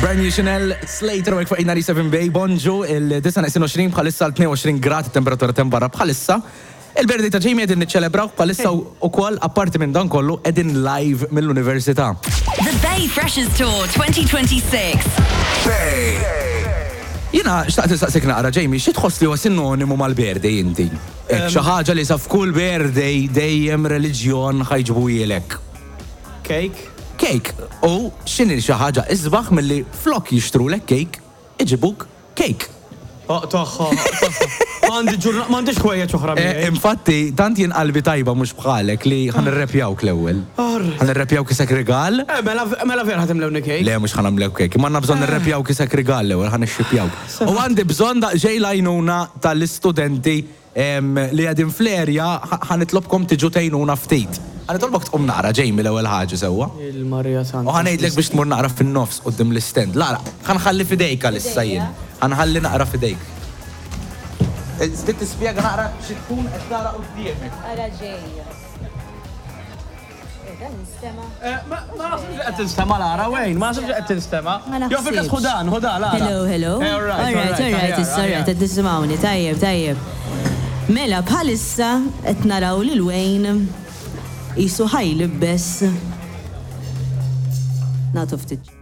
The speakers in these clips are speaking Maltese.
Brand new Chanel, Slater u fuq 97 Bay, bonġu, il-29 bħalissa l-22 grad temperatura tem barra bħalissa. Il-birthday ta' Jamie qegħdin niċċelebraw bħalissa ukoll apparti minn dan kollu qegħdin live mill-università. The Bay Freshers Tour 2026. Bay. Jiena xtaqt nistaqsik naqra Jamie, xi tħoss li huwa sinonimu mal-birthday inti? Hekk xi ħaġa li sa f'kull birthday dejjem reliġjon ħa jġibuhielek. Cake. Cake. U x'inhi xi ħaġa isbaħ milli flok jixtrulek cake, iġibuk cake. Oqtogħha, oqtogħha. Għandi ġurna, m'għandix ħwejjeġ oħra miegħi. Infatti, tant jien qalbi tajba mhux bħalek li ħa nirrepjawk l-ewwel. Ħa nirrepjawk isek rigal. Eh, mela, mela vera ħa timlewni cake. Le, mhux ħa nagħmlek cake. Imma għandna bżonn nirrepjawk isek rigal l-ewwel, ħa nixxipjawk. U għandi bżonn daqsxejn l-għajnuna tal-istudenti li qegħdin fl-area, ħa nitlobkom tiġu tgħinuna ftit. Ħa nitolbok tqum naqra, Jamie, l-ewwel ħaġa sewwa. Il-Marija Santa. U ħa ngħidlek biex tmur naqra fin-nofs quddiem l-istand. Lara, ħa nħalli f'idejk għalissa jien. Ħa nħalli naqra f'idejk. Trid tispjega naqra xi tkun qed tara quddiemek. Ara ġej. Ma naħsibx li qed tinstema' Lara, Wayne, ma naħsibx li qed tinstema'. Jew fil-każ ħu dan, ħu dan, Lara. Hello, hello. Eh, all right, all right, all right, issa, all right, qed tisimgħuni, tajjeb, tajjeb. Mela, bħalissa qed naraw lil Wayne qisu ħa jlibbes. Nagħtu ftit.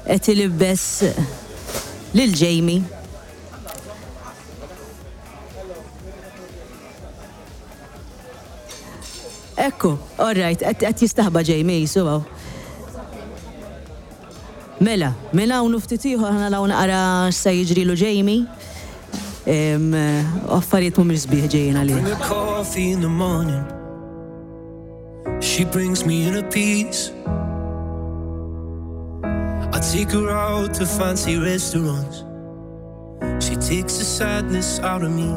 Qed ilibbes lil Jamie. Ekku, all right, qed jistaħba Jamie qisu hawn. Mela, minn hawn u ftit ieħor ħa naraw naqra x'se jiġrilu Jamie. Affarijiet mhumiex sbieħ ġejjin għalih. Bring her coffee in the morning. She brings me in a peace. I take her out to fancy restaurants. She takes the sadness out of me.